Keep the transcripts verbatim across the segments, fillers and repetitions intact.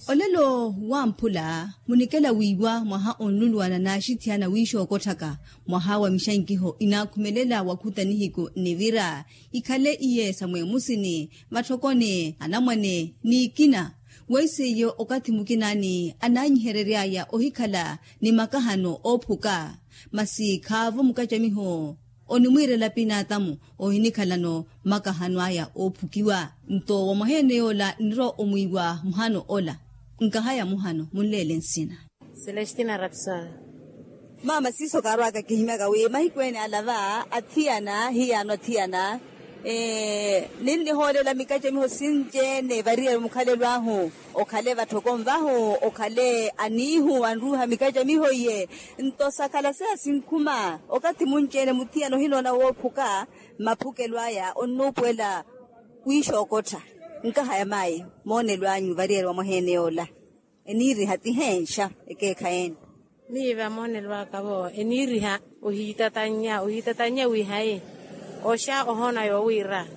Olelo wamphula munikela wiiwa mwaha onluluwana n'axithiyana wiixookotthaka mwaha wa mixankiho inaakhumelela wakhuta nihiku nnivira ikhale iye sa mweemusini matthokoni anamwane n'ikina. Weiseiyo okathi mukinaani anaanyiherery'aya ohikhala ni makahano oophuka masi khaavo mukacamiho onimwiirela pinaatamu ohinikhalano makahano aya oophukiwa. Nto wa mwaheene yoola nnirowa omwiiwa muhano ola. Nkahaya muhano munleele nsina. Celestina rapson. Maama siiso kaarwaka kihimyaka wi mahiku ene ala va athiyana hiyaano athiyana ninnihoolela mikacamiho sinci-ene variyari mukhalelo ahu okhale vatthoko nvahu okhale aniihu anruuha mikacamiho iye. Nto sakhala seya sinkhuma okathi munci-ene muthiyana ohinoona woophuka maphukelo aya onnuupuwela wiixookottha. Nkahaya maayi moonelo anyu variyari wa mwaheene yoola eniiriha ti heenxa ekeekhayi ene? Miiva moonelo aka vo eniiriha ohiitatannya ohiitatannya wiihayi oxa ohoona yoowiira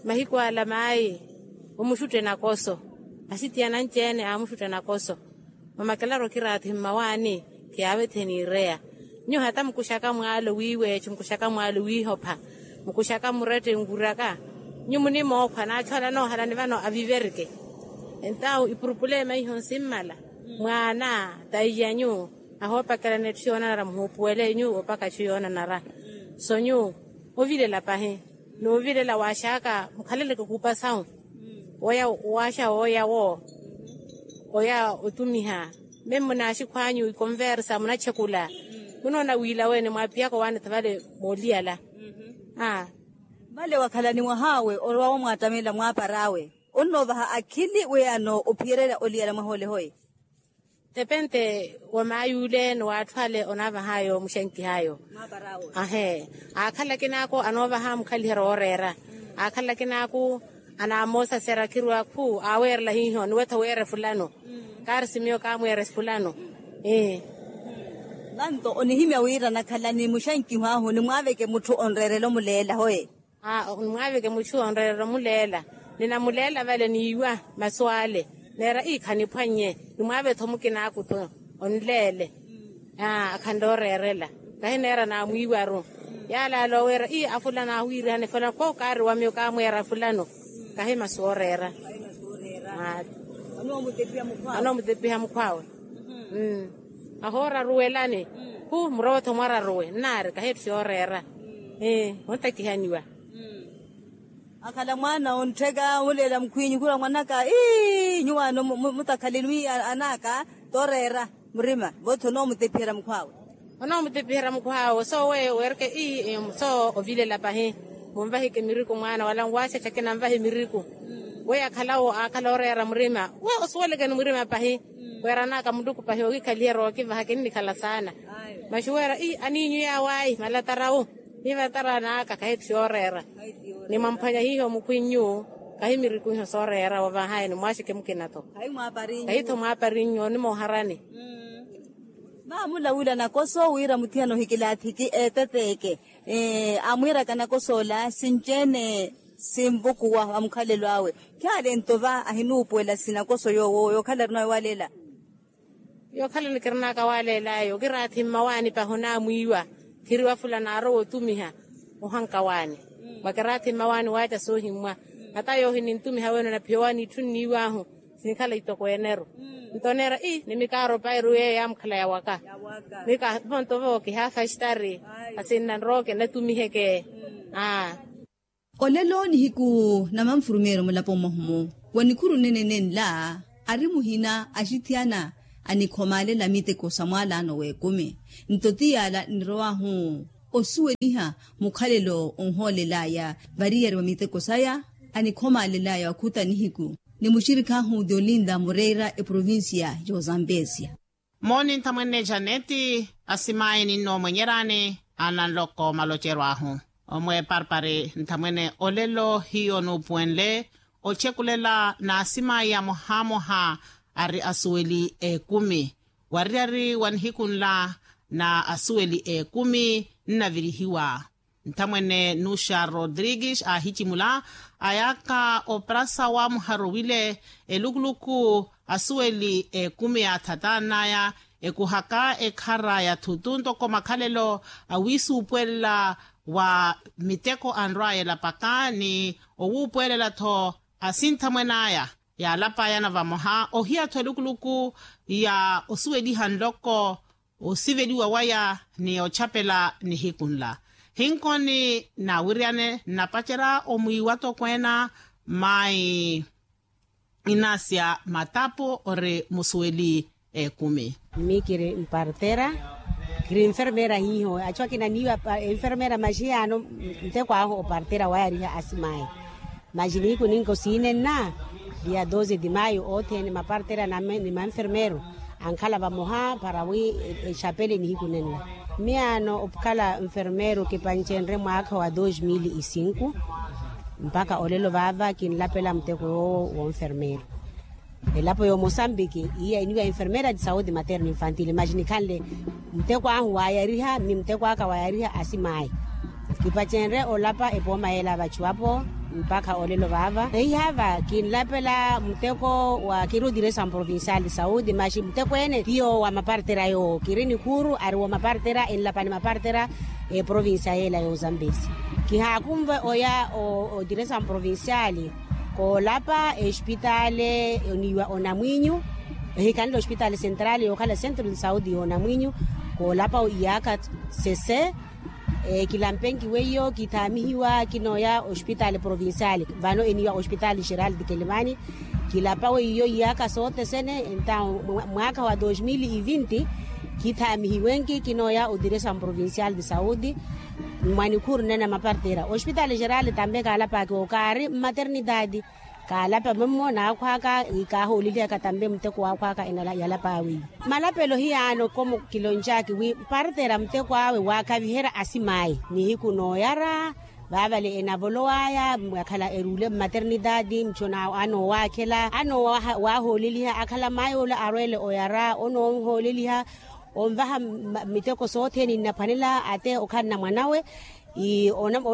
mahiku ala maayi omuxutte nakoso asitiyana anci-ene aamuxutte nakoso. Mamakelaru okiraathi mmawaani kiyaavethe niireya. Nyuwo hata mukuxaka mwaalo wiiweexe mukuxaka mwaalo wiihopha mukuxaka murette nkuraka. Nyuwo munimookhwa naatthu ala anoohalani vano aviverike. Entawu ipurupulema iho nsimmala mwaana taiyanyu ahoopakelana etthu yoonanara muhuupuwele nyuwo opaka etthu yoonanara. So nyuwo ovilela pahi noovilela waaxaka mukhaleleke khuupa sawu oya waaxa wooya wo oya otumiha. Meme munaaxikhwanyu ikonversa munatxekula munoona wiila wene mwaapihaka owaanetha vale mooliyala. Vale wakhalani mwahaawe orowa wamwaattamelela mwaapar'awe onnoovaha akhili wi ano ophiyererya oliyala mwaha ole hoye. Tepente wa maayuule ni w'atthu ale onaavah'ayo muxenkih'ayo. Ahe aakhala akin'aku anoovaha mukhaliheryo wooreera. Aakhala akin'aku anaamoosasera khirwa khu aaweerela hiiho niwetha weere fulano. Kaari simiyo kaamweere fulano. Nanto onihimya wira nakhalani muxankiho ahu nimwaaveke mutthu onreerela omuleela hoye. Nimwaaveke mutthu onreerela omuleela ninamuleela vale niiwa masu ale. Neera ii khaniphwannye nimwaave-tho mukinaaku-tho onleele. Akhanle oreerela kahineera naamwiiwaru. Yaalaala oweera ii afulana ahuwiirihane fulano kookaari wa miyo kaamweera fulano. Kahi masu ooreera. Anoomutepiha mukhwaawe. Ahooraruwelani khu murowe-tho mwararuwe nnaari kahi etthu yooreera. Ontakihaniwa. Akhala mwaana onttheka muleela mukhwinyu khula mwanaka ii nyuwaano mutakhaleni wi anaka tooreera murima vootho onoomutepiherya mukhwaawe. Onoomutepiherya mukhwaawe sooweyo weereke ii soo ovilela pahi. Munvahike miriku mwaana wala nwaaxaxake nanvahe miriku. Weyo akhalawo aakhala oreera murima we osuwelekeni murima pahi. Weeranaka muluku pahi okikhaliherya okivaha kinnikhala saana. Masi weera ii aniinyu yaawaayi malatarawu. Ni vatara anaka kahi etthu yooreera. Ni mwamphwanya hiiho mukhwinyu kahi miriku iho sooreera wavahaye ni mwaaxeke mukina-tho. Kahi-tho mwaaparinnyu onimooharani. Maamula wila nakoso wira muthiyana ohikilaathiki eeteteeke aamwiiraka nakosoola sinci-ene sinvukuwa va mukhalelo awe. Khaale nto va ahinuupuwela sinakoso yoowo yookhala arinawe waleela. Yookhala nikirinaka waleel'ayo okiraathi mmawaani pahi onaamwiiwa. Khiriwa fulano aarowa otumiha ohanka waani. Mwakiraathi mmawaani waaca soohimmwa. Hata yoohi nintumiha wene onaphiya owaani itthu nniiw'ahu sinkhala itoko ene-ru. Nto oneera ii nimikaaro pairu yeeyo yaamukhala yawaka. Mika vonto vo kihaafastari asinna nrooke natumiheke. Olelo nihiku na manfurumeeryo mulapo mwahumu wa nikhuru nene nenla ari muhina axithiyana anikhomaalela miteko sa mwaalaano w'ekumi. Nto ti yaala nirow'ahu osuweliha mukhalelo onhoolel'aya variyari wa miteko saya. Anikhomaalel'aya wakhuta nihiku ni muxirik'ahu diolinda moreira eprovincia y'ozambesia. Mooni nthamwene janeti asimaayi ninnoomwenyerani ananloko malocerw'ahu. Omwe parpari nthamwene olelo hiyo nuupuwenle ochekulela n'asimaayi amohamoha ari asuweli ekumi. Wariyari wa nihiku nla na asuweli ekumi nnavirihiwa. nthamwene nuxa rodrigues aahicimula, ayaaka oprasa wa muharowile elukuluku asuweli ekumi yaathatan'aya, ekuhaka ekhara ya thutu ntoko makhalelo awiisuupuwelela wa miteko anrw'aya elapaka ni owuupuwelela-tho asinthamwen'aya. Yaalapayana vamoha ohiya-tho elukuluku ya osuweliha nloko osiveliwa waya ni ochapela nihiku nla. Hinkoni nawiryane nnapacerya omwiiwa tokweena mai inasya matapu ori musuweli ekumi. Mii kiri mpartera, kiri nfermera hiiho achu akina niiwa enfermera maxi yaano nteko ahu opartera wayariha asimayi. Maxi nihiku ninka osiinenna dia doze di mayo othene mapartera ni manfermero ankhala vamoha para wi echapele nihiku nenna. Miyaano okhala nfermero kipanchenrye mwaakha wa dos mil e cinco mpakha olelo vaava kinlapela muteko yoowo wonfermero. Elapo ya omosambiki iya eniwa enfermera de saude materno infantile maxi nikhanle muteko ahu wayariha ni muteko aka wayariha asimayi. Kipacenre olapa epooma yeela vachu apo mpakha olelo vaava ehihaava kinlapela muteko wa kiri odiresa mprovincial de saude maxi muteko ene tiyo wa mapartera yoowo kiri nikhuuru ari wa mapartera enlapani mapartera eprovincia yeela y'ozambesi. Kihaakunve oya odiresa mprovincial koolapa espitale oniiwa onamwinyu ehikhanle ospitale central yookhala centro de saude y'onamwinyu. Koolapa iyaaka sese kilampenki weiyo kithaamihiwa kinooya ospitale provincial vano eniiwa ospitale geral de kelemani. Kilapa weiyo iyaaka sothesene entaw mwaakha wa dos mil e vinti kithaamihiwenki kinooya odiresa mprovincial de saude mwanikhuuru nena mapartera ospitale geral tambe kaalapaki okaari mmaternidade. Kaalapa mummo naakhwaaka kaahoolelihaka tambe muteko waakhwaaka yalapaawe. Malapelo hiyaano komo kiloncaaki wi mpartera muteko awe waakhavihera asimayi nihiku nooyara vaavale enavolowaya mwakhala eruule mmaternidade muchona anoowakhela anoowahooleliha akhala mayi ole arweele oyara onoonhooleliha onvaha miteko sothene nnaphwanela ate okhanna mwanawe.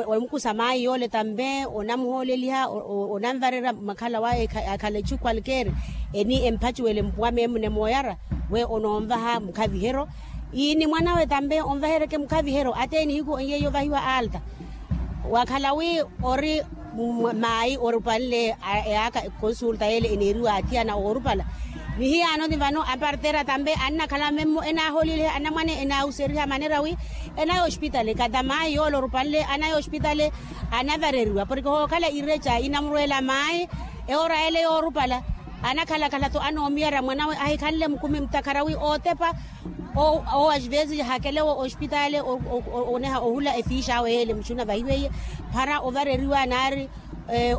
Omukusa mayi yoole tambe onamuhooleliha onanvarerya makhala waye akhala echu kwalkeeri eni empachuwele mpuwa memune mooyara we onoonvaha mukhaviheryo. Ni mwanawe tambe onvaheryeke mukhaviheryo ate nihiku onyeiye ovahiwa alta wakhala wi ori mayi orupanle eyaaka ekonsulta yeele eneeriwa athiyana oorupala. Nihiyaano ni vano apartera tambe annakhala memmo enaahooleliha anamwane enaawuseriha manera wi enaya ospitale kata mayi yoole orupanle anaya ospitale anavareriwa porke hookhala irecha inamurweela mayi ewoora yeele yoorupala anakhalakhala-tho anoomiyara mwanawe ahikhanle mukumi mutakhara wi ootepa owo asvesi hakelewo ospitale oneha ohula efiixa awe yeele muxuna vahiweiye para ovareriwa naari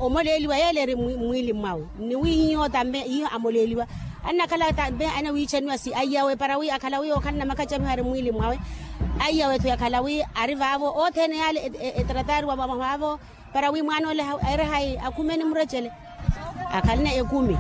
omoleeliwa yeele eri mmwiili mwawe ni wi hiyo tambe hiyo amoleeliwa annakhala tambe anawiichaniwa si aiyawe para wi akhala wi okhanna makachamiho ari mmwiili mwawe aiyawe-tho yakhala wi ari vaavo othene yaale etratariwa vaavo para wi mwaana ole aire hayi akhumeni murechele akhalina ekumi.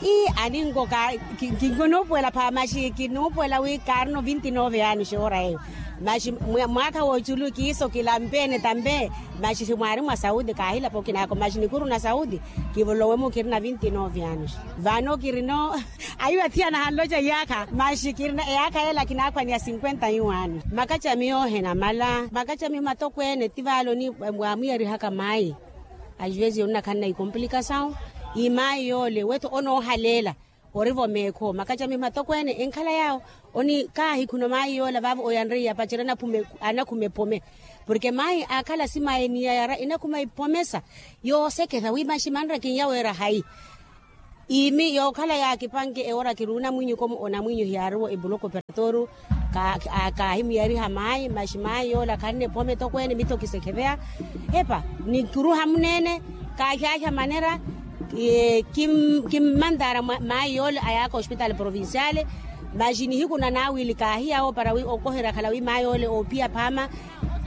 Ii aninkoka kinoopuwela pha maxi kinoopuwela wi kaarino vinti nove anos ewoora eyo maxi mwaakha w'oculu kiiso kilampeene tambe. Maxi mwaari mwa sauti kaahilapa okinaako maxi nikuru na sauti kivolowe-mo kirina vinti nove anos. Vano kirino ayiwa thiyana hanloca iyaakha maxi kirina eyaakha yeela kinaakhwaniya cinquenta yu anos makacamiyo henamala makacamiyo matokweene ti vaaloni waamwiyarihaka mayi. Ajuvesi yonina khanna ikomplikasawu imayi yoole wetho onoohaleela orivo meekho makacamiho matokweene enkhala yaawo. Oni kaahikhuno mayi yoola vaavo oyanreiye apacerya anakhuma ephome porke mayi aakhala simayi ni yayara enakhuma iphomesa yooseketha wi maxi manre kinyaweera hayi. Iimi yookhala yaakipanke ewoora kiri onamwinyu komo onamwinyu hiyaariwo ebuloko operatorio kaahimuyariha mayi maxi mayi yoola khanne phome tokweene mitho kisekheveya epa ni kuruha muneene. Kaahyahya manera kimmantaara mayi yoole ayaaka ospitale provinciale. Maxi nihiku na naawili kaahiyawo para wi okoherya akhala wi mayi yoole oophiya phaama.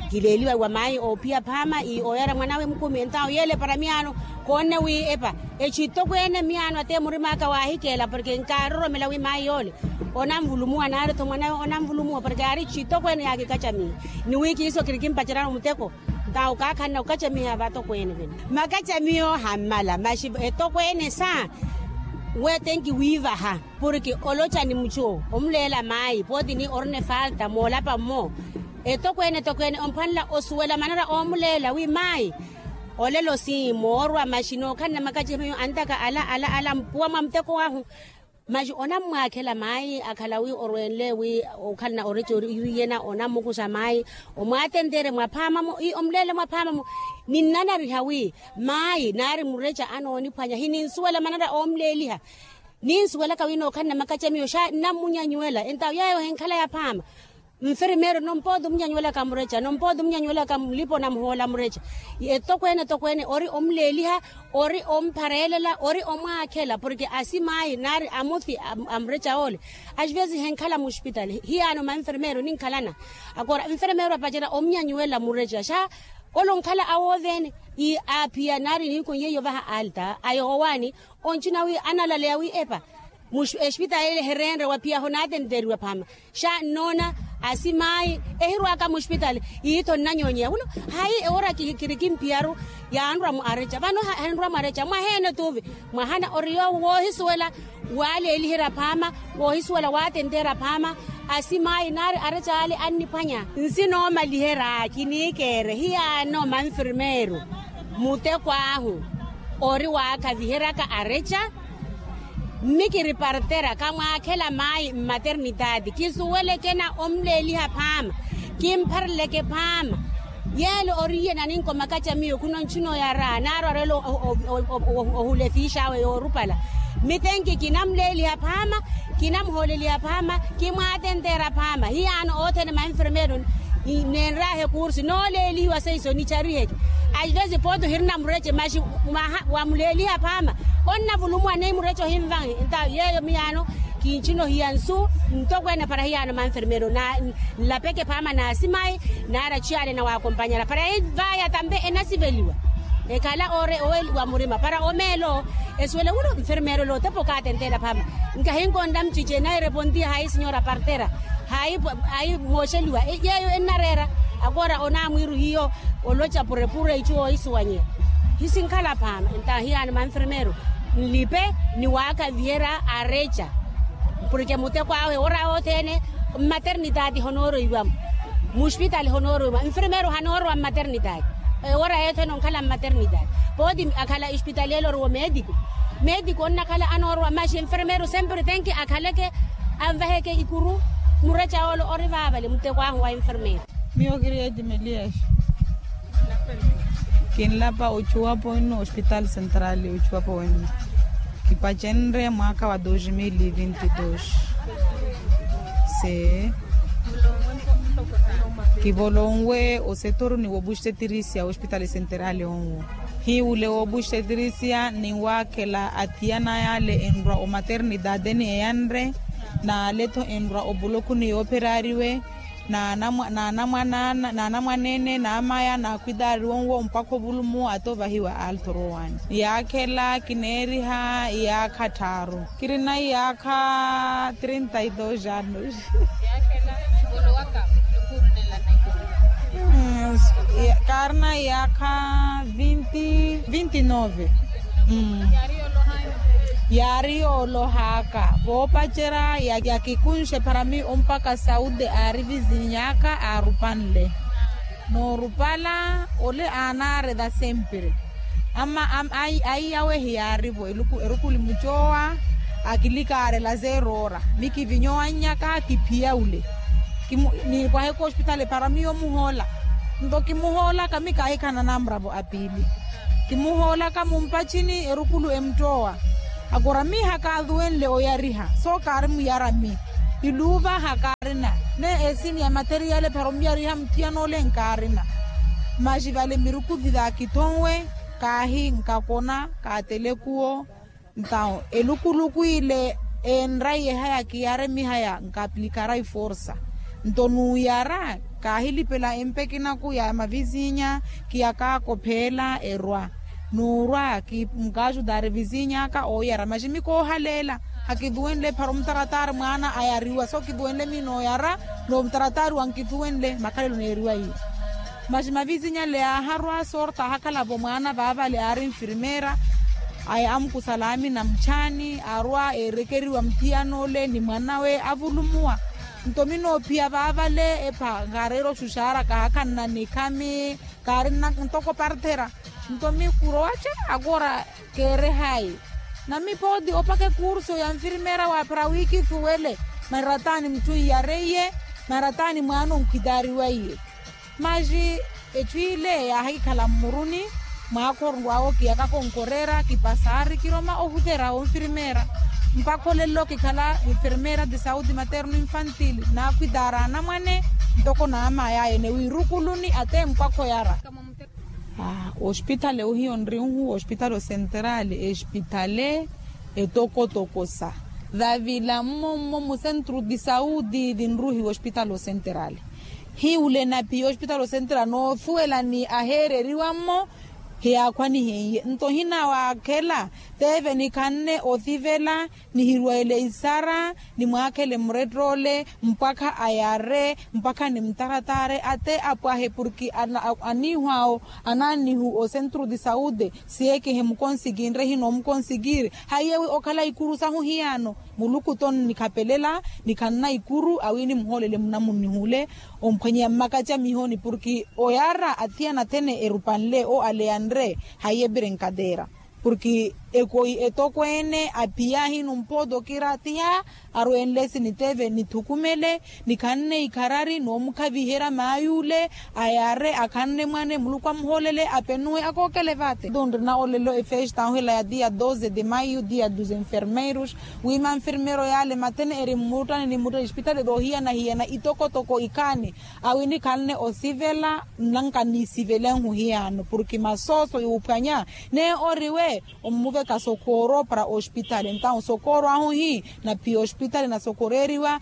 Kileeliwa wa mayi oophiya phaama i ooyara mwanawe mukumi entawo yeele para miyaano koonne wi epa, echitokweene miyaano ate murim'aka waahikeela porke nkaaroromela wi mayi yoole onanvulumuwa naari-tho mwanawe onanvulumuwa porke aari chitokweene yaakikacamiha ni wi kiiso kirikimpacerya muteko. Ntawo kaakhanna okacamiha vatokweene vene. Makacamiho hammala maxi etokweene sa we tenki wiivaha porke oloca ni mucu omuleela mayi pooti ni orina efalta moolapa mmo. Etokweene etokweene omphwanela osuwela manera oomuleela wi mayi, olelo si moorwa maxi nookhalana makacamiho antaka ala ala ala mpuwa mwa muteko wahu. Maxi onammwaakhela mayi akhala wi orwenle wi okhalana oreca ori iyena onammukuxa mayi, omwaatenteerya mwaphaama-mo ii omuleele mwaphaama-mo. Ninnanariha wi mayi naari mureca anooniphwanya hininsuwela manera oomuleeliha. Ninsuwelaka wi nookhalana makacamiho xa nnammunyanyuwela entawo yeeyo henkhala yaphaama. Nfirmeeru nompooti omunyanyuwelaka mureca nompooti omunyanyuwelaka mulipa onamuhoola mureca. Etokweene etokweene ori omuleeliha, ori omphareelela ori omwaakhela porke asimaayi naari amuthi a mureca oole. Asivesi henkhala muxpitali hiyaano manfirmeeru ninkhalana. Akora nfirmeeru apacerya omunyanyuwela mureca xa ole onkhala awooveene. Aaphiya naari nihiku nyeiyo vaha alta ayohowaani. Oncina wi analaleya wi epa expitali ele ehereenre waphiyaho naatenteeriwa phaama. Xa nnoona asimaayi ehirwaka muxpitali iitho nnanyoonyeya wula. Hayi ewora kiri kimpiyaru yaanrwa mu areca vano henrwa mu areca mwaheene tuuvi. Mwahana ori yoowo woohisuwela waaleeliherya phaama woohisuwela waatenteerya phaama. Asimaayi naari areca ale anniphwanya. Nsi noomaliherya kiniikeere hiyaano manfirmeeru muteko ahu ori waakhaviheryaka areca. Mmi kiri partera kamwaakhela maayi mmaternitaati kisuwelekena omuleeliha phaama. Kimphareleke phaama yeele oriye naninko makacamiyo khuno nchinooyara naari orela ohula efiix'awe yoorupala. Mitenki kinamuleeliha phaama kinamuhooleliha phaama. Kimwaatenteera phaama hiyaano othene manfirmeeru neenraahe kursi nooleelihiwa seiso nichariheke. Aivesi pooti ohirina mureche maxi wamuleeliha phaama. Onnavulumuwa ni mureche ohinvanhe nta yeeyo miyaano kinchinohiya nsu ntokweene para hiyaano manfirmeeru nlapeke phaama naasimayi. Naari achiyaale na waakompanyala para yivaya tampe enasiveliwa ekhala ore oweliwa murima para omeelo esuwele wula nfirmeeru ole otepa okaatenteela phaama. Nkahinkonda mchiche nayi repontiya hayi sinyora partera hayi mooxeliwa yeeyo ennareera. Akora onaamwiiru hiyo oloca purepure ichu oohisuwanyeya hisinkhala phaama nta hiyaano manfirmeeru nlipe ni waakaviherya areca. Porke muteko ahu ewora yothene mmaternitaati honooroiwa-mo muxpitali honooroiwa-mo nfirmeeru hanoorowa mmaternitaati. Ewora yothene onkhala mmaternitaati pooti akhala expitali ele oriwo meetiku meetiku onnakhala anoorowa maxi nfirmeeru sempre tenki akhaleke anvaheke ikuru. Mureca ole ori vaavale muteko ahu wa nfirmeeru. Miyo kiri eti melias kinlapa ochuwapo inno hospital central ochuwapo wenno kipacenre mwaaka wa dos mil vinti dos. Se kivolonwe osetoru ni wobuxetirisiya hospital central onwo hiwule wobuxetirisiya ni waakhela atiyana yale enrwa omaternitaateni eyanre naale-tho enrwa opulokhu ni yoopherariwe. Naanamwaneene naamaya naakhwitaari wonwo mpakha ovulumu ata ovahiwa alto rowan yaakhela kineeriha iyaakha tthaaru kirina iyaakha trinta y dos anos. Kaarina iyaakha vinti vinti nove. Yaari yoolohaaka voopacerya yakikunxe para miyo mpakha saudi aari vizinyaaka aarupanle. Noorupala ole aanaarela sempre ama ayi awe hiyaarivo erukuli mucoowa. Akilikaarela zeerora mikivinyowannyaka kiphiya ole. Niipwaheke ospitali para miyo muhoola nto kimuhoolaka mi kaahikhala nanamuravo apiili. Kimuhoolaka mumpachini erukulu emuttowa akora mi hakaaluwenle oyariha soo kaarimuyara mi. Iluuva hakaarina ne esini ya materiale para omuyariha muthiyan'ole nkaarina. Maxi vale mirukulu vila kithonwe kaahi nkakona kaathele kuwo. Ntawo elukuluku ile enraiye haya kiyare mihaya nkaplikara iforsa nto nuuyara Kaahilipela empekinaku ya mavizinya kiyakaakopheela erwa. Nuurwa kinkaajudaari vizinya aka ooyara maximi koohaleela. Hakithuwenle ephara omutarattaari mwaana ayariwa so kithuwenle miina oyara. N'omutarattaari wankithuwenle makhalelo neeriwa iye. Maxi mavizinya ale yaaharwa sorta ahakhala-vo mwaana vaavale aari nfirmeera. Aya amukusala amina muchaani arwa eerekeriwa muthiyana ole ni mwan'awe avulumuwa. Nto minoophiya vaavale epha nkaareera oxuxaara kaahakhanna nikhami. Kaarinna ntoko parthera. Nto mikurowaca akoora keerehayi. Namipooti opaka ekurso ya nfirmeera waaphera wiikithuwele. Manrataani muchu iyareiye. Manrataani mwaana onkhitaariwaiye. Maxi echu ile yaahikhala mmuruni. Mwaakhoru awo kiyakaka onkoreera kipasaari kiroma ohutera onfirmeera. Mpakha olelo kikhala enfermeera de sauti materno infantil naakhwitaara anamwane. Ntoko naamaya ene wiirukuluni ate mpwakha oyara. Ospitale ohiyo nrinhu ospitale osenterale espitale etokotoko sa davila mmommo musentru di sauti dinruhiwa ospitale osenterale. Hiwule naphiya ospitale osenterale noothuwela ni aheereriwa mmo. Hiyaakhwanihenye nto hinawaakhela teve nikhanne othivela. Nihirwele isara nimwaakhele murettoole mpwakha ayare mpwakha nimutarattaare ate apwahe porki aniihu awo anannihu osentru di saude. Siyekehe mukonsikinre hino omukonsikiri hayiyewi okhala ikuru sahu hiyaano. Muluku to nnikhapelela nikhanna ikuru awi nimuhoolele munamunnihule. Omphwanyeya mmakacamihoni porki oyara athiyana athene erupanle o aleyanre hayiye brinkatera. Porki ekoi etokweene aphiya hino mpooti okira athiha arwenle siniteve nithukumele nikhanne ikharari noomukhaviherya maay'ule. Ayare akhanne mwane muluku amuhoolele apenuwe akookele vaate nto nrina olelo efesta ahu ela ya dia doze de maio dia dos enfermeiros. Wi manfermeiro yale mathene eri mmuttani ni mmuttani espitali rohiyana hiyana itokotoko ikhaani awi nikhanne osivela. Nnanka nisivelenhu hiyaano porki masooso yuuphwanya ne oriwe. Ommuveka sokooro para ospitali entawu sokooro ahu hi naphiya ospitali nasokoreeriwa.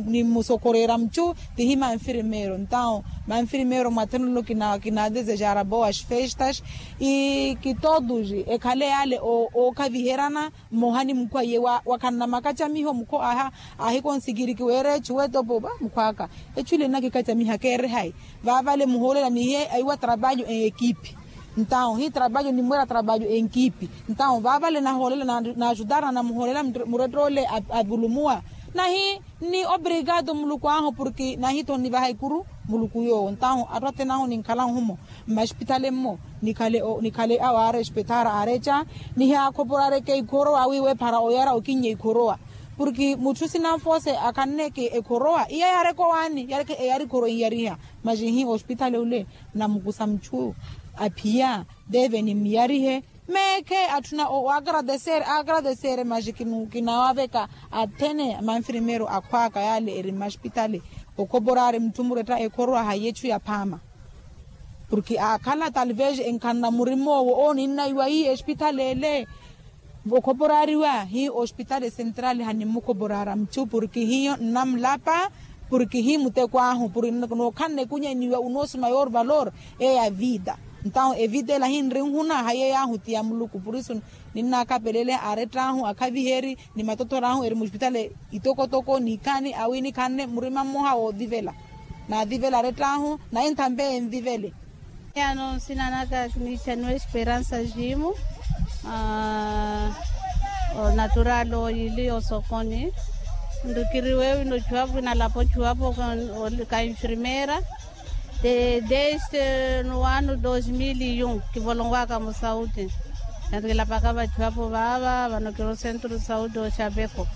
Nimusokoreera muchu tihi manfirmeero entawu manfirmeero mwathene olelo kinaadesejara boas festas. Ikitoduji ekhale yale ookhaviheryana mmoha ni mukhu aiye wakhanna makacamiho mukhu aha. Ahikonsikiri kiweera echu wetopo va mukhwaka echu ile nnakikacamiha keere hayi. Vaavale muhoolela nihiye aiwa trabalho en ekipi. Ntawu hi trabalho nimweera trabalho en ekipi. Ntawu vaavale nahoolela naajutarana muhoolela murettoole avulumuwa. Nahi ni obrigado muluku ahu porki nahi tho nnivaha ikuru. Muluku yoowo ntahu atthu athene ahu ninkhala nhumo mmaspitale mmo. Nikhale awo aarespetar aareca nihiyakhoporareke ikhorowa wiiwe para oyara okinnye ikhorowa. Porki mutthu sinanfose akhanneke ekhorowa iya yaareke owaani yareke eyari ikhorowa inyariha. Maxi hi ospitale ule namukusa muchu aphiya deve nimmiyarihe. Meekhe atthuna o agradesere agradesere maxi kinawaveka athene manfirmeero akhwaka yale eri mmaspitale. Okhoporari mutthu muretta ekhorowa hayi echu yaphaama. Porki aakhala talvez enkhanna murimoowo owo ninnaiwa hiyo espitali ele. Okhoporariwa hiyo ospitali central hanimmukhoporara muchu porki hiyo nnamulapa. Porki hiyo muteko ahu porki nookhanna ekunyaniwa unosi mayor valor eya vida. Ntawu evida ela hinrinhuna hayi eyo ahu ti ya muluku purisu. Ninnaakapelele aarett'ahu akhaviheri ni matothor'ahu eri muspitale itokotoko nikhani awi nikhanne murima mmoha woothivela. Naathivela arett'ahu nayi nthampe enthivele. Ano nsina naka kiniichaniwa esperansa jimu. Natural oyili osokoni nrukiriwe wino chuwapo inalapo chuwapo ka infirmera. Desde no ano dos mil e um kivolonkwaka musauti. Nari kilapaka vachu apo vaava vano kiro centro sauti oxapeko.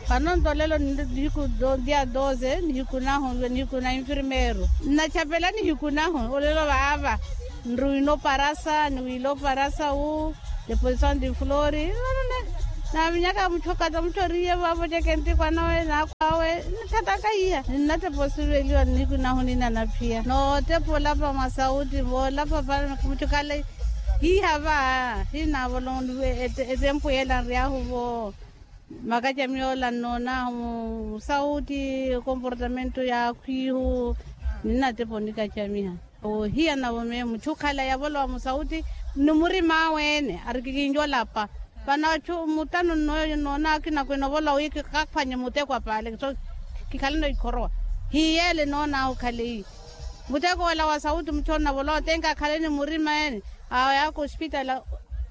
Vano ntolelo nihiku dia doze nihiku nahu nihiku na infirmero. Nnachapela nihiku nahu olelo vaava nruwino parasa niwilo parasa wu. Deposition di flori. Navinyaka muchokata muchoriye vavo cekenti kwanawe nakhwawe. Nithataka iya ninnateposiveliwa nihiku nahu ninanaphiya nootepola pa masauti vola papa. Muchokale hiha va hinavolonliwe etempu yela nryahu vo. Makacamiha ola nnoon'ahu musauti, okomportamento y'akhwihu. Ninnatepa onikacamiha. Ohiyana-vo meemu mutthu okhala yavolowa musauti ni murim'awe-ene ari kikinci olapa. Vano atthu mutano nnoona akina kwene ovolowa wi kikakhwanye muteko apaale so kikhaleno ikhorowa. Hiyeele noon'ahu okhale iyi. Muteko ola wa sauti mutthu onavolowa otenka akhaleni murima ene. Ayaka osipitali.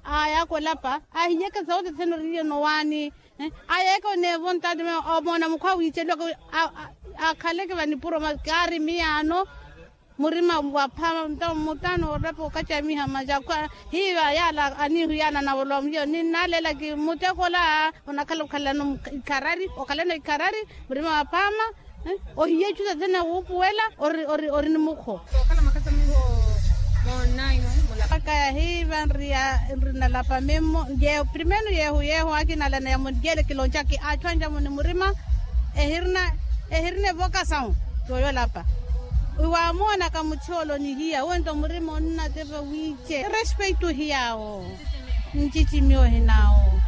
Ayaka olapa ahiyeke sauti thene oriye nowaani. Ayeke oneevo ntati omoona mukhwa wiiceliwaka. Akhaleke vanipuro masi kaari miyaano. Murima wa phaama mutano orapa okacamiha masi akwa. Hiiva yaala aniihuyana anavolowa muhiyo ninnaleelaki muteko ola. Onakhala okhalano ikharari okhalano ikharari. Murima wa phaama. Ohiya ecuta thene wuupuwela ori ori ori ni mukho. Okhala makasamiho. Moonnayi. Aka yahiiva nriya nrinalapa mimmo. Primenu yeehu yeehu akinalana ya munjele kiloncaki achu anjamuni murima. Ehirina ehirina evokasawu. Yooyolapa. Iwaamoonaka muchoolo nihiya wento murima onnatepa wiice respeitu hiyaawo. Ncicimi ohinawo.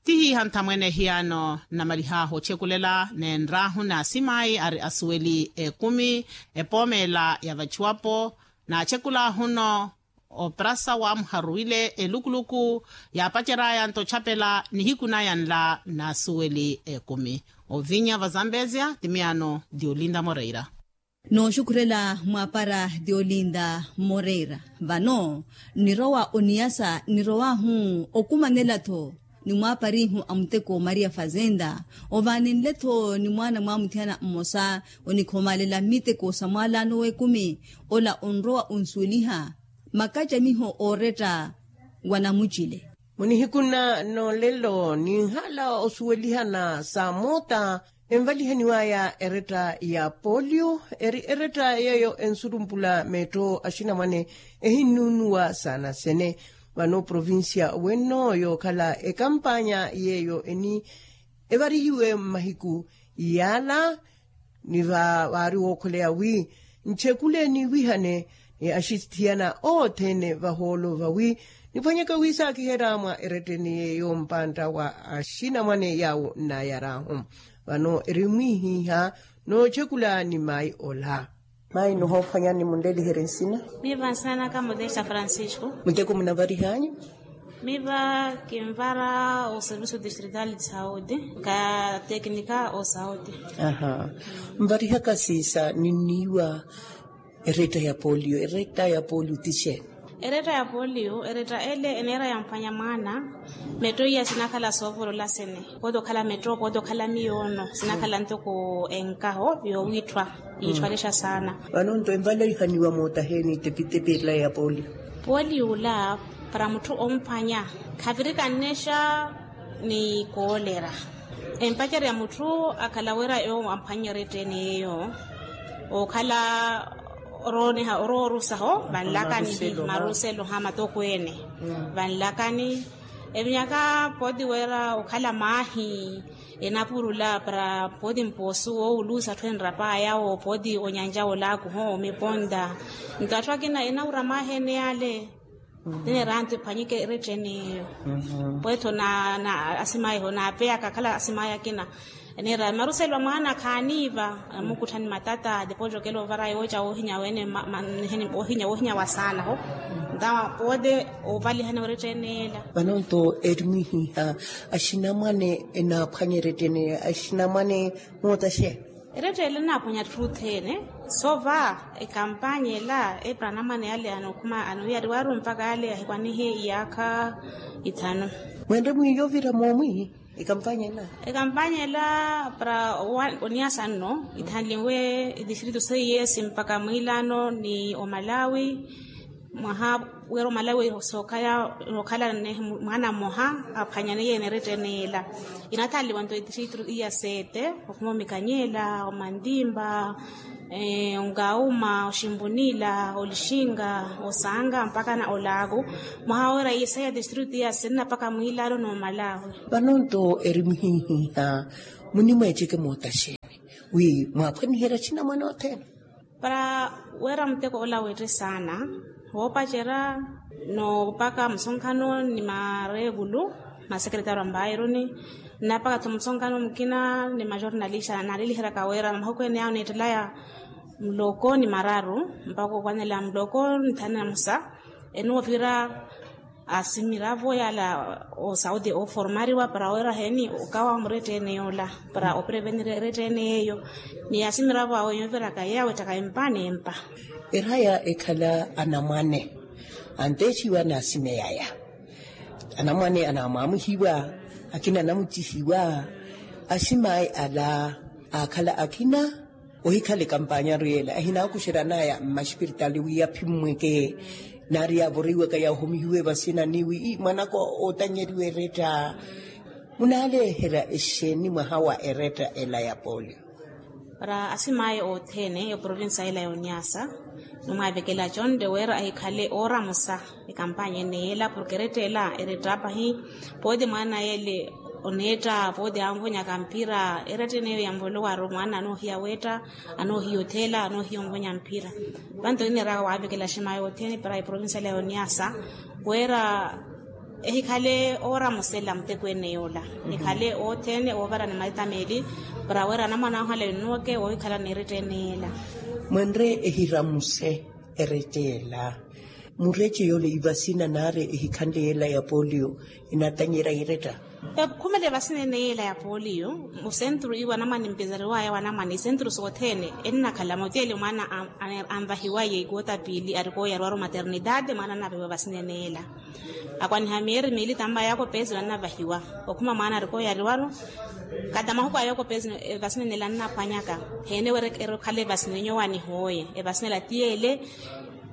Tihiiha nthamwene ehiyaano nnamalihaahu ocheekulela neenr'ahu n'asimayi ari asuweli ekumi. Epoomela ya vachiwapo naachekulaahu-no oprasa waamuharuwile elukuluku. Yaapacery'aya nto ochapela nihiku naya nla n'asuweli ekumi. Ovinya va zambezia ti miyaano ti olinda moreira. Nooxukhurela mwaapara ti olinda moreira. Vano nnirowa oniyasa nnirowahu okumanela-tho ni mwaaparihu a muteko maria fazenda. Ovaaninle-tho ni mwaana mwaamuthiyana mmosa onikhomalela mmiteko sa mwaalaano w'ekumi. Ola onrowa onsuweliha makacamiho ooretta wa namucile. Munihiku nna n'olelo ninhala osuwelihana sa moota envalihaniw'aya eretta ya polio eri eretta yeeyo ensurumpula meetto axinamwane ehinnuunuwa saana sene. Vano provincia wenno yookhala ekampanya yeeyo eni evarihiwe mmahiku yaala. Ni vaari wookholeya wi nchekule niiwihane axithiyana othene vahoolo vawi niphwanyeke wi saakiherya mwa eretteni yeeyo mpantta wa axinamwane yaawo nnaayar'ahu. Vano eri mwiihiiha noochekula ni mayi ola. Mayi nihoophwanyani munleliherye nsina. Miiva nsina naka modesta francisco. Muteko munavarih'anyu? Miiva kinvara oservicio distrital de saudi ka teknika o saudi. Aha. Nvarihaka siisa ninniiwa eretta ya polio eretta ya polio ti xeeni? Eretta ya polio eretta ele eneera yamphwanya mwaana. Metto iya sinakhala soovolola sene pooti okhala metto pooti okhala miyoono sinakhala ntoko enkaho yoowiitthwa. Yiittwalixa saana. Vano nto envalihaniwa moota heeni tepitepi ela ya polio? Polio ola para mutthu omphwanya khavirikannexa ni koolera. Empacerya mutthu akhala wira yoowo amphwanyerya etteni yeeyo okhala oroorusaho vanlakani maruselo ha matokweene. Vanlakani evinyaka pooti wira okhala maahi enapurula para pooti mpoosu woowuluusa atthu enrapaya wo pooti onyanja olaaku ho miponta. Nto atthu akina enawura maahi ene yale. Tineera antu ephwanyike eretteni eyo. Pweetho na asimaya eho naapeyaka akhala asimaya akina. Neera maruselo a mwaana khaaniiva. Amukutthani matata depois okela ovara yooca woohinya weene. Woohinya woohinya wa saana ho. Ntawa poote ovalihana weretteni ela. Vano nto eri mwihiha axinamwane enaaphwanya eretteni axinamwane. Mootaxe. Eretteni ela enaaphwanya atthu othene. Sova ekampanya ela epira anamwane yale anokhuma anoiyari waaru mpaka yale ahikwanihe iyaakha. Ithanu. Mwenre mwiiya ovira moomwi ekampanya ela. Ekampanya ela para oniyasa nno ithanliwe edistritu seiye esi mpaka mwiilaano ni omalawi. Mwaha wira omalawi sookhala mwaana mmoha aphwanyane yeene eretteni ela. Inathanliwa nto edistritu iya sete okhuma omikanyela omantimpa, onkauma oximbunila olixinka osanka mpaka na olaaku. Mwaha wira iisaya distritu iya sinna mpaka mwiilaano n'omalawi. Vano nto eri muhihiha munimweeceke mootaxeeni wi mwaaphwaniherya axinamwane othene. Para wira muteko ola weette saana woopacerya noopaka musonkhano ni mareekulu masekeretari wa mbaironi. Nnapaka tho musonkano mukina ni majornalista naariliheryaka wira mahuku ene yawo niittelaya muloko ni mararu mpaka okwanela muloko ni thanu na musa. Ene woovira asimiravo yala osaudi oformariwa para wira heni okawa murettene yoola para oprevenir erettene yeeyo. Ni asimiravo awe yooviraka yeeyo awettaka empa n'empa. Eraya ekhala anamwane antexiwa n'asimeyaya. Anamwane anamwamuhiwa, akina anamucihiwa. Aximayi ala aakhala akina ohikhala ekampanyaru yeela ehinaakuxeranaya mmaxipiritali wi aphimmweke. Naari yaavoriwaka yahomihiwe vasinani wi mwanaka ootanyeriwa eretta. Munaaleherya exeeni mwaha wa eretta ela ya polio? Para asimayi othene eprovinsa ela ya oniasa numwaavekela conte wira ahikhale ooramusa ekampanya ene yeela porke eretta ela eretta pahi. Pooti mwaana yeele oneetta pooti anvonyaka mpira eretta eneyo yamvolowaru mwaana anoohiya weetta anoohiya otheela anoohiya onvonya mpira. Vanto nineeraka waavekela aximaayi othene para eprovinsa ela ya oniasa wira ehikhale ooramusela muteko ene yoola. Ekhale othene oovarani maitameeli para wira anamwan'ahu ala ennuweke woohikhala n'eretta ene yeela. Mwenre ehiramuse eretta ela. Murece yoole ivasina naari ehikhanle yeela ya polio enatanyerya eretta. Ekhumele vasina ene yeela ya polio musentru iwo anamwane mpezariwaya wa anamwane isentru sothene ennakhala motiele mwaana anvahiwaye ikuwo ta piili arikooyariwaru maternidade mwaana annapewa vasina ene yeela. Akwaniha miyeeri miili tampa yaakopezino annavahiwa okhuma mwaana arikooyariwaru. Kata mahuku a yaakopezino evasina ene yeela annaphwanyaka heene wira erikhala evasina enyowa nihooye evasina ela tiyeele.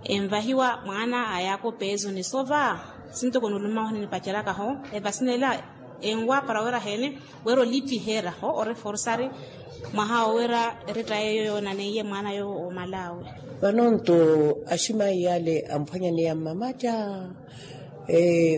Envahiwa mwaana a yaakopezoni sova sintoko nuluma oho ninipacerakaho evasina ela enwa para wira heene wira olipiherya ho oreforsari mwaha owo wira eretta yeeyo yoonaneiye mwaana yoowo oomalawe. Vanonto aximayi yale amphwanyaneya mmamatta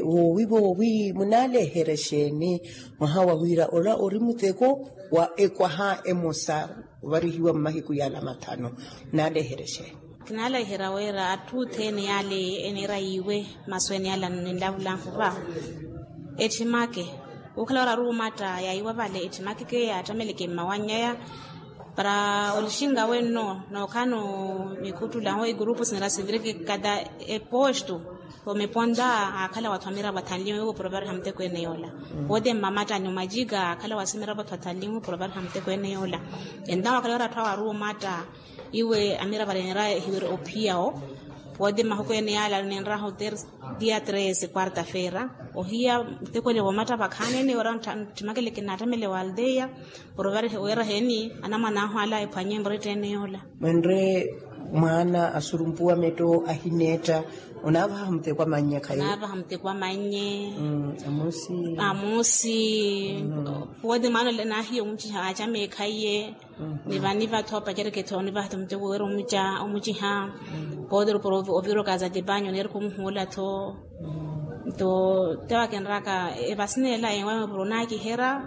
woowi voowi munaaleherya exeeni mwaha wa wira ola ori muteko wa ekwaha emosa ovarihiwa mmahiku yala mathanu? Munaaleherya exeeni? Kinaaleherya wira atthu othene yale eneera yiiwe masu ene yala ninlavulanhu va etthimake. Wookhala wira aruumatta yaiwa vale etthimake ke yaattameleke mmawannyaya para olixinga wenno nookhala no mikhuttulaho egurupu sinera sivireke kata epostu omeponta. Aakhala watthu amiravo athanlinwe wooprovarha muteko ene yoola. Pooti mmamatta ni omajika aakhala wasimiravo atthu athanlinwe wooprovarha muteko ene yoola. Entawo aakhala wira atthu awo aruumatta iwe amiravo arenera ehiwere ophiya wo. Pooti mahuku ene yala ninraha oter dia tres quarta feira ohiya muteko ene voomatta vakhaanene wira nttimakele kinaattamele wa aldeia. Porovari wira heeni anamwan'ahu ala ephwanye muretta ene yoola. Mwenre mwaana asurumpuwa metto ahineetta onaavaha muteko a mannye khaye. Onaavaha muteko a mannye. Amusi. Amusi. Pooti mwaana ole naahiya omuciha aacama ekhaiye. Nivaniva tho pacereke tho nivaha tho muteko wira omuciha. Pooti ruporo ovira okaaza tipanyo neerika omuhuula tho. Nto te wakinraka evasina ela enwamepuro onaakiherya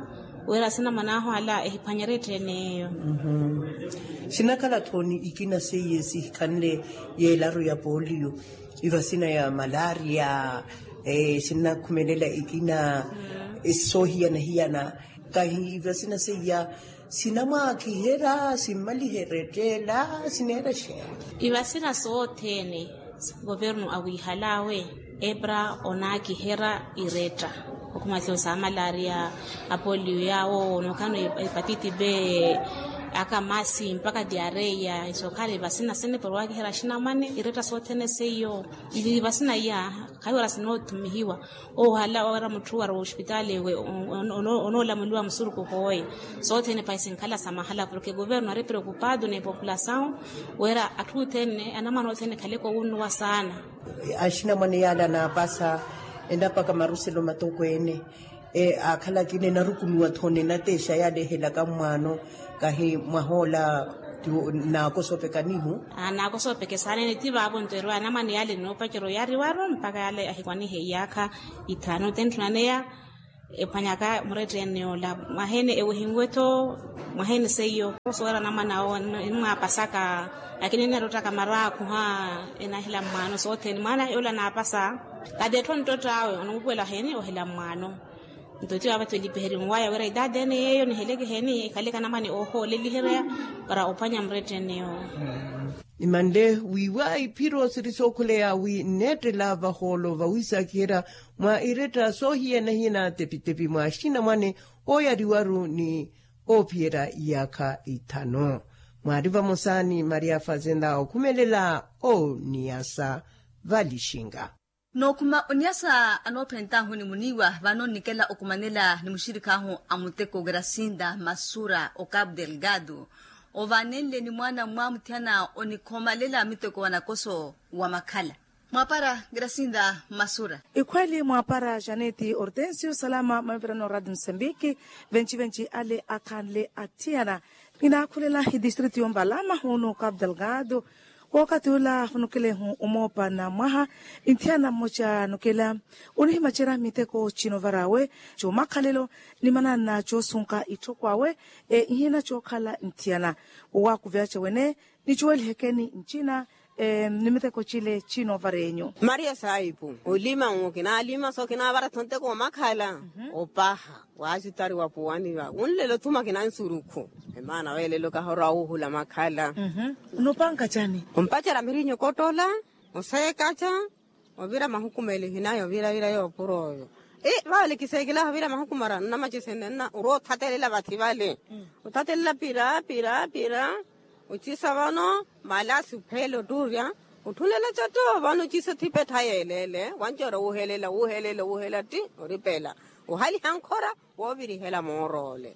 wira sinamwan'ahu ala ehiphwanyerye etthu ene eyo. Sinakhala-tho ni ikina seiye sihikhanle yeelaru ya polio, ivasina ya malaria. Sinnakhumelela ikina soohiyana-hiyana. Kahi ivasina seiya sinamwaakiherya simmaliherya ettela sineera exeeni? Ivasina sothene governu awiihal'awe epra onaakiherya iretta. Okhuma siyo sa malaria, apolio yaawo nookhala no hepatiti be, akamasi mpaka diareia isokhala ivasina sene pora owaakiherya axinamwane iretta sothene seiyo. Ivasina iya khayi wira sinoothumihiwa. Ohala wira mutthu wari ospitali ewe onoolamuliwa musurukhu hooye. Sothene pahi sinkhala sa mahala porke governu ari preokupado ni populasawu wira atthu othene anamwane othene ekhaleke owunnuwa saana. Axinamwane yaala anaapasa enapaka maruselo matokweene. Aakhala akina enarukunuwa-tho ni enateexa yaala ehelaka mwaano. Kahi mwahoola naakosoopeka nihu. Naakosoopeke saana ene ti vaavo nto erwa anamwane yaala enoopacerya oyariwaru mpaka yaala ahikwanihe iyaakha ithaanu tentthuna neya. Ephwanyaka muretta ene yoola mwaha ene ewehinwe-tho mwaha ene seiyo. Soweera anamwane awo enimwaapasaka. Lakini eneerottaka maraakhu ha enahila mwaano sothene mwaana yoola anaapasa. Kati etthu onttott'awe onuupuwela heeni ohila mwaano. Nto tiyo avatho elipiherimu waya wira idadi ene yeeyo niheleke heni ekhale kanamani ohooleliherya para ophwanya muretteneyo. Imanle wiiwa iphiro siri sookhuleya wi nneettela vahoolo vawiisaakiherya mwa iretta soohiyana-hiyana tepi-tepi mwa axinamwane ooyariwaru ni oophiyerya iyaakha ithanu. Mwaari vamosa ni maria fazenda okhumelela oniyasa valixinga. Nookhuma oniyasa anoophentahu ni muniiwa vano nnikela okhumanela ni muxirikhahu a muteko gracinda masura o capu delgado. Ovaanenle ni mwaana mwamuthiyana onikhomalela muteko wa nakoso wa makhala. Mwaapara gracinda masura. Ikhweli mwaapara janeti hortensio salama maivirano radi musambiki. Venci-venci ale akhanle athiyana ninaakhulela idistritu yombalama hunu capu delgado. Wookathi ula afunukelehu omoopa na mwaha. Inthiyana mmoca anukela onihimacerya miteko cinovarawe comakhalelo ni mananna coosunka itthoko awe. Ihina cookhala nthiyana wowaakuveyaca wene. Nicuwelihekeni ncina ni miteko cile cinovara enyu. Maria saipu olima nwo kinaalima so kinaavara-tho nteko omakhala opaha. Waacutari wa puwani va wunlelo thuma kina nsurukhu. Emaana weelelo kahora wuuhula makhala. Nopanka cani? Ompacerya mirinyo kottola oseekaca ovira mahukumeli hinayi ovira-vira yoopura oyo. Vale kiseekela ovira mahukumara nnamacesene nna orwa othatelela vathi vale. Othatelela pira pira pira ocisa vano malasi ophele ottuurya. Otthulela catto vano ocisa othipa ettha yeeleele wanci ora wuuhelela wuuhelela wuuhelela tti oripela ohaliha nkhora woovirihela mooroole.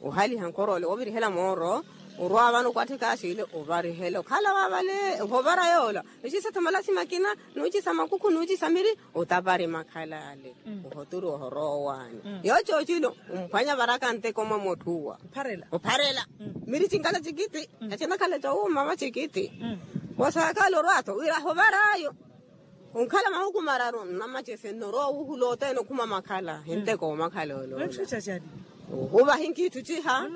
Ohaliha nkhoroole woovirihela mooro orwa vano okwatthika asiile ovarihela okhala wa vale ohovara yoola. Ociisa tho malasima akina nuuciisa makukhu nuuciisa miri otapari makhala ale. Ohoturi ohorowa owaani yoocoocilo omphwanya varaka nteko mwa motthuwa opharela miri cinkala cikiti. Acinakhala cowuuma va cikiti wosaakala orwa-tho wira ahovara-yo. Onkhala mahuku mararu nnamacese nno orwa owuhula othene okhuma makhala hinteko omakhala olola. Ohuva hinkiithu ciha.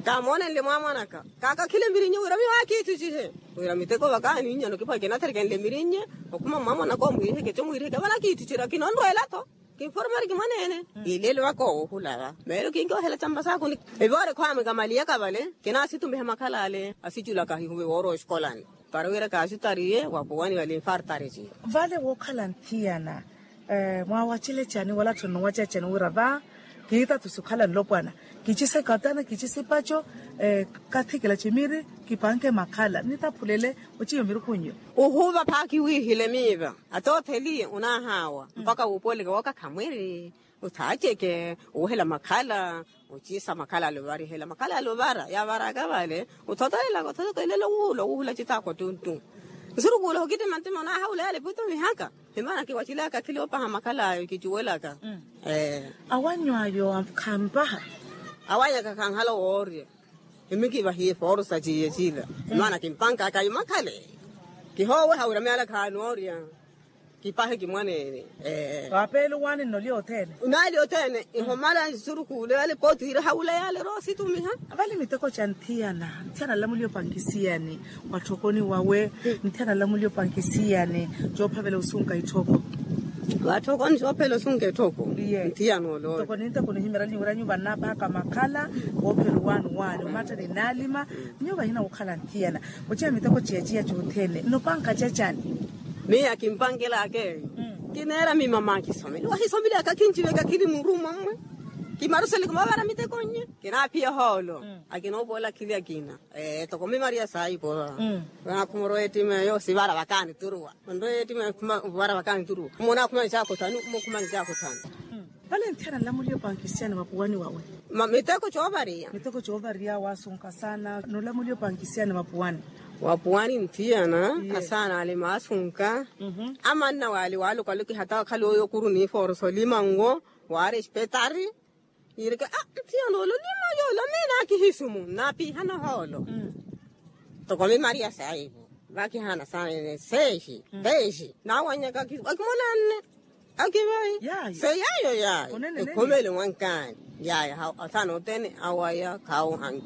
Kamoonenle mwaamwanaka kaakakhile mirinnye wira miyo akiithu cihe wira miteko vakaani nnyano kipwa kinatherekenle mirinnye okhuma mwaamwanaka omwiiriheke co mwiiriheke vale akiithu cira kinonrweela-tho. Kinformari kimwaneene. Ilelo vaka owohula va meelo kinkiohela campa saakuni. Evoore khwaamwe kamaliyaka vale kinaasitumiha makhala ale asiculaka hihuve woora oxikolani para wira kaasutariye wa puwani vale infartari ciyo. Vale wookhala nthiyana mwaawacelecani wala tthonno wacelecani wira va kiitatusi okhala nlopwana kicisa ikatana kicisa ipaco kathikela cimiri kipanke makhala nitaphulele ociyo mirukunyo. Uhuva phaaki wiihile miiva atootheliye onaahawa mpaka wuupooleke wooka khamwiri othaaceke owuhela makhala. Ociisa makhala ale ovarihela makhala ale ovara yaavaraka vale othotolelaka othotolelaka wuula owuhula citaakwa tuntu nsurukuula okitima ntima onaahawula yale putumihaka. Himana kiwacilaka akhili opaha makhala ayo kicuwelaka. Awanyu ayo khampaha awanyaka khanhala owoorya. Emikivahiye fooro sa ciiye cila maana kimpankaka ayo makhale kihooweha wira myaala khaanoorya. Kipahe kimwaneene. Waapeele owaani nnolya othene. Naali othene ihomala nsurukuule yale pooti wira hawula yale roositumiha. Vale miteko ca nthiyana nthiyana nlamuliye opankisiyani watthokoni wawe. Nthiyana nlamuliye opankisiyani coophavela osunka itthoko. Watthokoni coophavela osunka itthoko. Iye ntthiyana olola. Ntoko ninteko nihimeranyi wira nyuva nnaapahaka makhala woophela owaani owaani omattani nnaalima. Nyuva hina wokhala nthiyana oceya miteko ciyaciya cothene nnopanka cacani. Miya kimpankelaka eyo kineera mimama akisomeli wahisomeli aka kinciveka khili murumo mmwe. Kimarusele kumavara miteko nye kinaaphiya ohoolo. Akinoopola akhili akina toko mimaria saipo. Vanakhumoro ettima eyo sivara vakaani turuwa. Onro ettima eyo khuma vara vakaani turuwa mmonakhumani caakothanu mmokhumani caakothanu. Vale nthiyana nlamuliye opankisiyani vapuwani wawe. Miteko coovariya miteko coovariya waasunka saana nolamuliye opankisiyani vapuwani. Wapuwani nthiyana asaana ale maasunka. Amanna waale waalokwaloki hata wakhale oyo okuru niifoorosa olimango waari espetari. Yiireke a nthiyana olo olimango olo miina akihisumu nnaapihana ohoolo. Toko mimaria saivo vakihana saana seexi peexi naawanyaka akimolanne. Akivayi se yaayo yaayo ekhomele mwankaani. Yaayo asaana othene awaya khaawohanki.